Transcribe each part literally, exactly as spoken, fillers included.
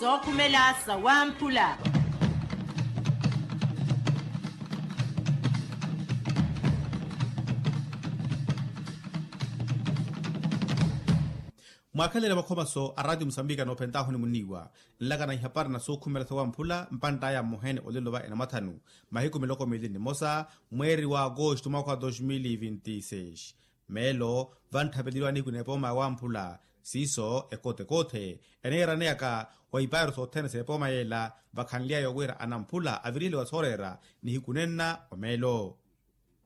Sookhumela sawamphula. Mwaakhalele makhomaso a raatiyo musambika noophentaahu ni muniiwa, nlakana ihapari na sookhumela sawamphula mpantt'aya mmohene olelo va enamathanu, mahiku miloko miili ni mmosa, mweeri wa agosto mwaakha wa dos mil e vinti seis. Meelo vantthapeleriwa nihiku n'epooma ya wamphula. Siiso ekotekoothe eneeraneyaka wa ipairo sothene s'epooma yeela, vakhanly'aya wira anamphula aviriheliwa sooreera nihiku nenna wa meelo.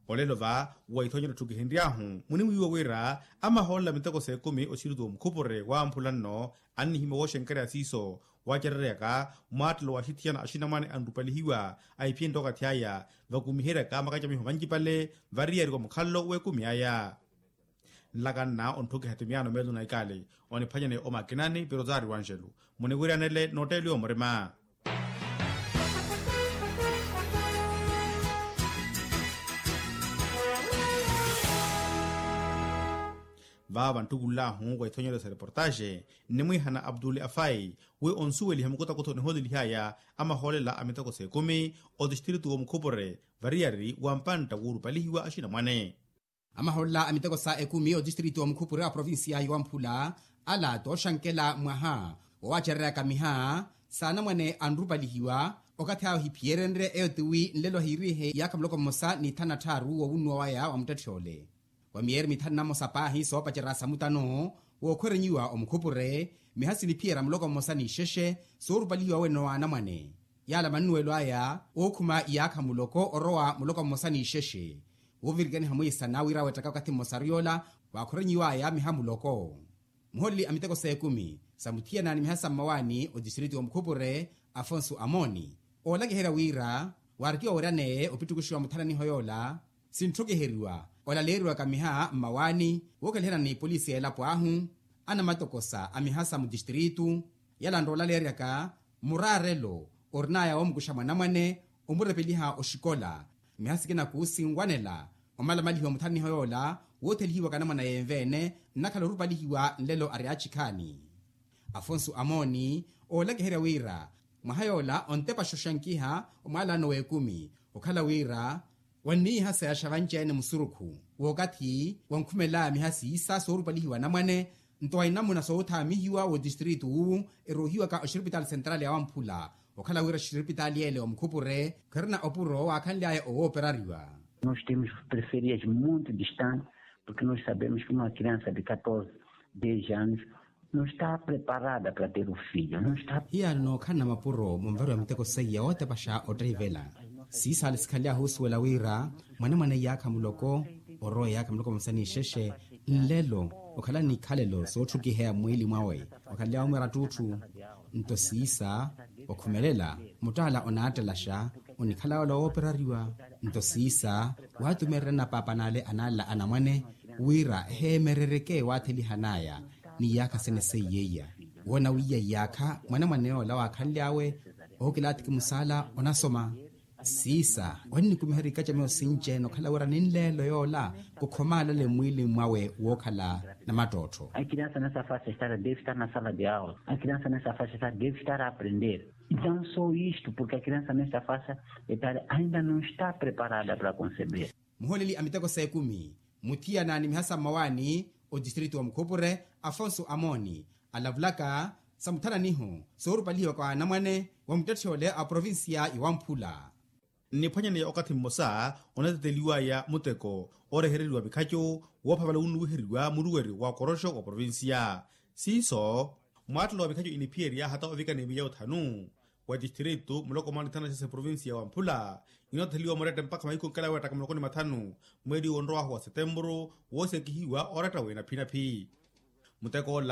Olelo va wa ithonyero etthukihenry'ahu muniwiiwa wira amahoolela miteko s'ekumi oxiriti wa mukhupure wamphula nno, annihimya wooxenkerya siiso waacereryaka mwaattelo wa axithiyana axinamwane anrupalihiwa, ahiphiyent'okathi aya vakumiheryaka makacamiho vancipale variyari wa mukhalelo w'ekumi aya. Nlakanna ontthukiha tumiyano meelo na ikaali oniphwanyane omakinani pirotaari wa anxelu, muniwiryanele nootteeliwa murima. Vaava nttukullahu wa ithonyeryo sa reportaxe nnimwiihana abduli afai wi onsuweliha mukutakutho nihoolelih'aya amahoolela a miteko s'ekumi otistritu w'omukhupure variyari wa mpantta wuurupalihiwa axinamwane. Amahoolela a miteko sa ekumi otistritu w'omukhupure a provincia yowamphula ala tooxankela mwaha wowaacereryaka miha s'anamwane anrupalihiwa. Okathi awo ohiphiyerenrye eyo tiwi nlelo ahiirihe iyaakha muloko mmosa n'ithanu na tthaaru wowunnuwa waya wa muttetthyoole wa miyeeri mithanu na mmosa paahi soopacerya samutano wookhwerenyiwa omukhupure. Miha siniphiyerya muloko mmosa n'ixexe soorupalihiwa wene w'anamwane yaala mannuwelo aya ookhuma iyaakha muloko orowa muloko mmosa n'ixexe. Woovirikaniha mwiisana wira awettaka okathi mmosa ariy'ola waakhorenyiw'aya miha muloko. Muhooleli a miteko s'ekumi sa muthiyana ni miha sa mmawaani otistritu w'omukhupure afonso amooni oolakiherya wira waarikiwa weeryaneye opittukuxiwa muthananiho yoola sintthukiheriwa olaleeriwaka miha mmawaani wookeleherya ni polisi y'elapo ahu anamatokosa a miha sa mutistritu yalantta olaleeryaka muraarelo orin'aya woomukuxa mwanamwane omurepeliha oxikola. Miha sikina kuusinwanela omalamalihiwa muthananiho yoola woothelihiwaka anamwane a yenve-ene nnakhala orupalihiwa nlelo ari achikhaani. Afonso amooni oolakiherya wira mwaha yoola ontepaxa oxankiha omwaalano w'ekumi okhala wira wanniiha sayaxa vanci-ene musurukhu w'okathi wankhumelaya miha siisa soorupalihiwa anamwane nto wa inamuna soothaamihiwa w'otistritu wuwu eroohiwaka oxiripitaali sentrali ya wamphula okhala wira oxiripitaali yeele wa mukhupure kherina opuro waakhanly'aya owooperariwa. Nos temos preferias muito distante porque nos sabemos que uma criança de catorze, dez anos não está preparada para ter o filho. Hiyaano nookhalana mapuro munvariwa miteko seiya wootepaxa ottaivela siisaale sikhalyahu osuwela wira mwanamwane iyaakha muloko orowa iyaakha muloko mmosa n'ixexe nlelo okhala n'ikhalelo sootthukiheya mmwiili mwawe okhanly'awe omwira ttuutthu. Nto siisa okhumelela muttaala onaattelaxa onikhala yoola wooperariwa. Nto siisa waatumeererya anapaapa n'ale anaalela anamwane wira eheemerereke waathelihan'aya n'iyaakha sene seiyeiya woona wiiya iyaakha mwanamwane yoola waakhanly'awe ookilaathiki musaala onasoma. Siisa wannikumiherya ikacamiho sinci-ene okhala wira ninleelo yoola kukhomalale mmwiilini mwawe wookhala namattoottho. A criança nessa faixa etária deve estar na sala de aula. A criança nessa faixa etária deve estar a aprender. Então só isto porque a criança nessa faixa etária ainda não está preparada para conceber. Muhooleli a miteko s'ekumi muthiyana ni miha sa mmawaani otistritu wa mukhupure afonso amooni alavulaka sa muthananiho soorupalihiwaka wa anamwane wa muttetthe ole a provincia ya wamphula. Nniphwanyaneya okathi mmosa onateteliwaya muteko oorehereriwa mikhaco woophavela wunnuwiheriwa muruweri wa okoroxo wa provincia. Siiso mwaattelo wa mikhaco iniphiyerya hata ovikana emiya othanu wa tistritu muloko mwaani thana sese provincia ya wamphula inootheliwa murette mpakha mahiku nkela weettaka muloko ni mathanu mweeli wonrowahu wa setempuru woosekihiwa ooratta w'enaphinaphi. Muteko